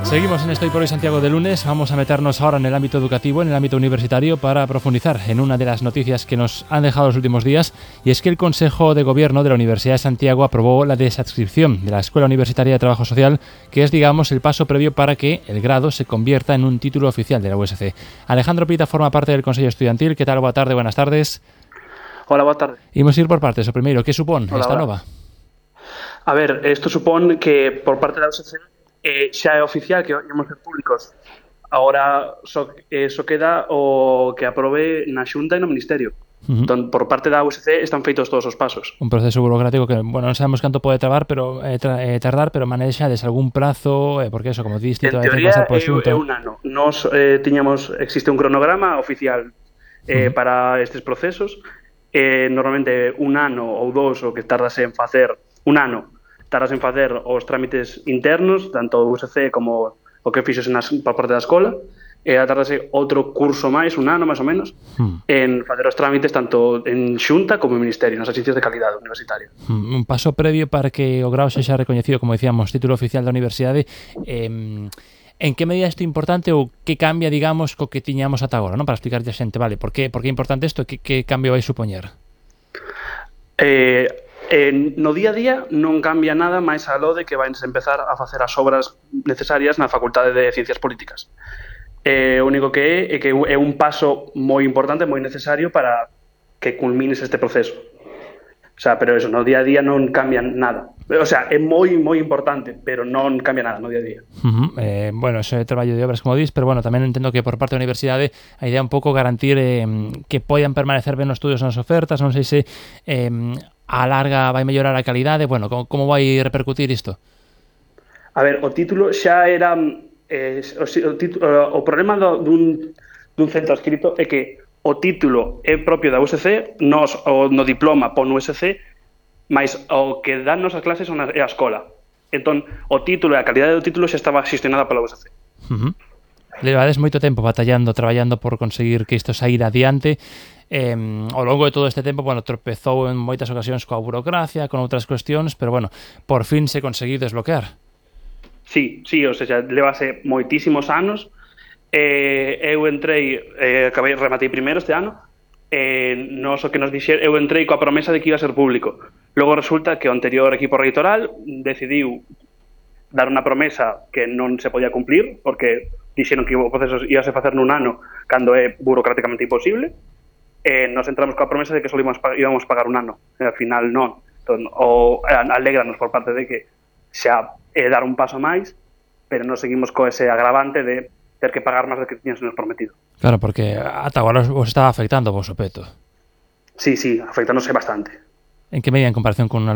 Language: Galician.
Seguimos en Estoy por hoy Santiago de lunes. Vamos a meternos ahora en el ámbito educativo, en el ámbito universitario, para profundizar en una de las noticias que nos han dejado los últimos días, y es que el Consejo de Gobierno de la Universidad de Santiago aprobó la desadscripción de la Escuela Universitaria de Trabajo Social, que es, digamos, el paso previo para que el grado se convierta en un título oficial de la USC. Alejandro Pita forma parte del Consejo Estudiantil. ¿Qué tal? Boa tarde, buenas tardes. Hola, boa tarde. Imos ir por partes. O primeiro, que supón esta Hola. nova? A ver, isto supón que por parte da USC xa é oficial que íamos ser públicos. Agora só queda o que aprobe na Xunta e no Ministerio. Entón, por parte da USC están feitos todos os pasos. Un proceso burocrático que, bueno, non sabemos canto pode tardar, pero manexades algún prazo, porque eso, como diste, En hai que teoría pasar por Xunta. é un ano. Nos existe un cronograma oficial para estes procesos. Normalmente un ano ou dous o que tardase en facer os trámites internos, tanto o USC como o que fixose por parte da escola, e tardase outro curso máis, un ano máis ou menos, en facer os trámites tanto en Xunta como en Ministerio, nas agencias de calidade universitaria. Un paso previo para que o grao sexa recoñecido, como dicíamos, título oficial da universidade. En que medida isto é importante ou que cambia, digamos, co que tiñamos ata agora, non? Para explicarlle a xente, vale, por que é importante isto e que cambio vai supoñer? No día a día non cambia nada máis aló de que vais empezar a facer as obras necesarias na Facultade de Ciencias Políticas. O único que é que é un paso moi importante, moi necesario para que culmines este proceso. O sea, pero eso, no día a día non cambia nada. O sea, é moi importante, pero non cambia nada no día a día. Bueno, eso é traballo de obras, como dis, pero bueno, tamén entendo que por parte da universidade a idea é un pouco garantir que poidan permanecer ben os estudios nas ofertas. Non sei se a larga vai mellorar a calidade. Bueno, como vai repercutir isto? A ver, o título xa era... o problema dun centro adscrito é que o título é propio da USC, no diploma pon USC, mas o que dan as clases é a escola. Entón, o título e a calidade do título xa estaba xestionada pola USC. Levades moito tempo traballando por conseguir que isto saíra adiante. Ao longo de todo este tempo, bueno, tropezou en moitas ocasións coa burocracia, con outras cuestións, pero bueno, por fin se conseguiu desbloquear. Sí, o sea, levase moitísimos anos. Eu entrei, rematei primeiro este ano, o que nos dixeron, eu entrei coa promesa de que iba a ser público. Logo resulta que o anterior equipo reitoral decidiu dar unha promesa que non se podía cumplir, porque dixeron que o proceso ia a facer nun ano cando é burocráticamente imposible. Nos entramos coa promesa de que só íbamos pagar un ano, e ao final non. Entón, alégranos por parte de que xa é dar un paso máis, pero non seguimos co ese agravante de ter que pagar máis do que tiñamos prometido. Claro, porque ata agora os estaba afectando o vosso peto. Sí, afectándose bastante. En que medida en comparación con un